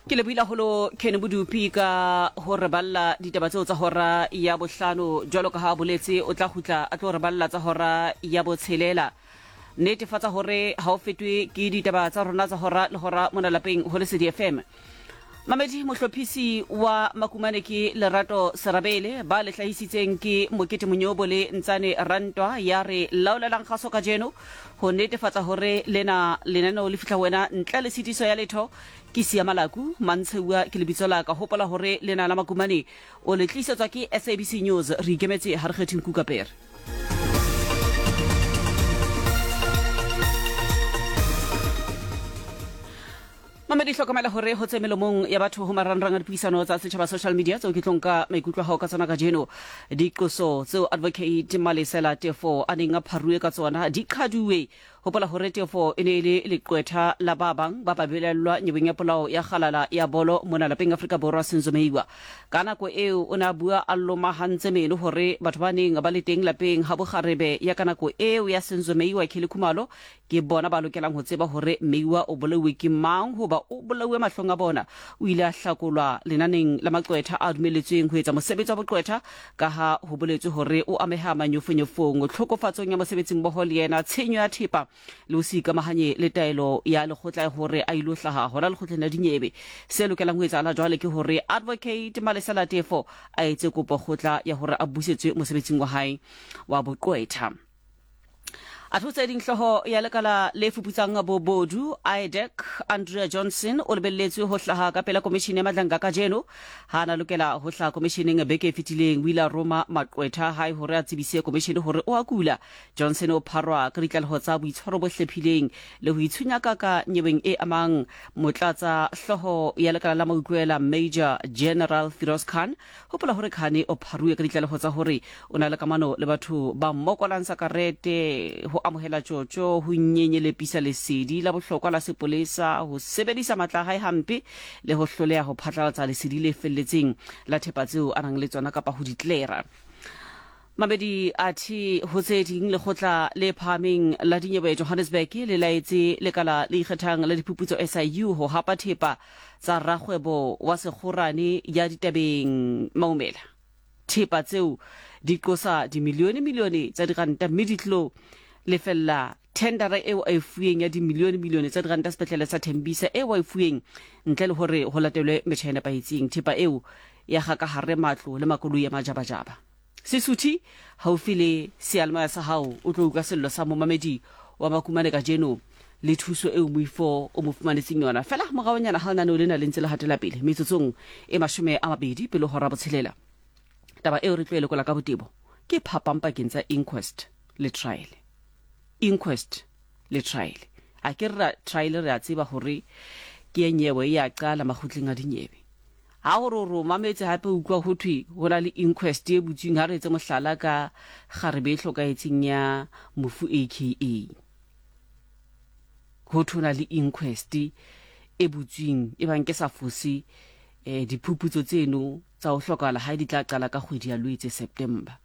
Ke lebohile haholo Ken Bodupi ka ho re balla ditaba tseo tsa hora ya bohlano. Jwalo ka ha a boletse, o tla kgutla a tlo re balla tsa hora ya botshelela. Netefatsa hore ha o fetwe ke ditaba tsa rona tsa hora le hora mona lapeng ho Lesedi FM. Mamedi mohlophisi wa Makumane ke Lerato Serabele, ba le hlahisitseng ke Mokete Monyobo le Ntsane Rantwa ya re laolelang kgaso kajeno ho netefatsa hore lena lenaneo le fihla ho wena ntle le tshitiso ya letho. Ke Sia Malaku, Mantsheuwa ke lebitso la ka. Hopola hore lena la Makumane o le tlisetswa ke SABC News. Re ikemetse ha re kgethe nku ka pere. Mamedi hlokomela hore ho tse melomong ya batho ho marangrang a dipuisano tsa setjhaba social media tseo ke tlo nka maikutlo a hao ka tsona kajeno. Diqoso tseo Advocate Malesela Tefo a neng a pharuwe ka tsona di qhaduwe. Hopola hore Tefo e ne e le leqwetha la ba bang ba babelaellwa nyeweng ya polao ya kgalala ya bolo mona lapeng Afrika Borwa Senzo Meyiwa. Ka nako eo o ne a bua a lomahantse meno hore batho ba neng ba le teng lapeng ha bokgarebe ya ka nako eo ya Senzo Meyiwa Kelly Khumalo Ke bona ba lokelang ho tseba hore Meiwa o bolauwe ke mang hoba o bolauwe mahlong a bona. O ile a hlakolwa lenaneng la maqwetha a dumeletsweng ho etsa mosebetsi wa boqwetha kaha ho boletswe hore o ameha manyofonyofong, tlhokofatsong ya mosebetsimmoho le yena, tshenyo ya thepa le ho se ikamahanye le taelo ya lekgotla ya hore a ilo hlaha hona lekgotleng la dinyewe. Se lokelang ho etsahala jwale ke hore Advocate Malesela Tefo a etse kopo kgotla ya hore a busetswe mosebetsing wa hae wa boqwetha. A thotse ding hlooho ya lekala le fuputsang bobodu IDAC Andrea Johnson o lebelletswe ho hlaha ka pela komishene ya Madlanga kajeno. Ha a na lokela ho hlaha komisheneng beke e fetileng, o ile a roma maqwetha a hae hore a tsebise komishene hore o a kula. Johnson o pharwa ka ditlaleho tsa boitshwaro bo hlephileng le ho itshunyakaka nyeweng e amang motlatsa hlooho ya lekala la mautlwela Major General Firoz Khan. Hopola hore Khane o pharuwe ka ditlaleho tsa hore o na le kamano le batho ba mmokolang sakarete, ho amohela tjotjo, ho nyenyelepisa lesedi la bohlokwa la sepolesa, ho sebedisa matla a hae hampe le ho hloleha ho phatlalatsa lesedi le felletseng la thepa tseo a nang le tsona kapa ho di tlera. Mamedi athe ho tse ding lekgotla le phahameng la dinyewe Johannesburg le laetse lekala le ikgethang la diphuputso SIU ho hapa thepa tsa rakgwebo wa sekgorane ya ditabeng Maumela. Thepa tseo di qosa dimilione milione tsa diranta mme di tlo lefella thendara eo a e fuweng ya dimilione milione tsa diranta sepetlele sa Thembisa eo a e fuweng ntle le hore ho latelwe metjha e nepahetseng. Thepa eo ya ga ka hare matlo le makoloi a majabajaba. Sesuthi haufi le seyalemoya sa hao o tlo utlwa sello sa momamedi wa Makumane kajeno le thuso eo moifo o mo fumanetseng yona. Fela moraonyana ha lenaneo lena le ntse le hatela pele metsotsong e 20 pele hora botshelela. Taba eo re tlo e lekola ka botebo ke phapang pakeng tsa inquest le trial. Inquest le trial. A ke re trial re a tseba hore ke nyewe e a qala makgotleng a dinyewe. Ha o re o re o mametse hape o utlwa ho thwe ho na le inquest e butsweng, ha re etse mohlala ka kgarebe e hlokahetseng ya mofu AKA. Ho thwe ho na le inquest e butsweng e bang ke sa fose eh, diphuputso tseno tsa ho hlokahala hae di tla qala ka kgwedi ya Lwetse, September.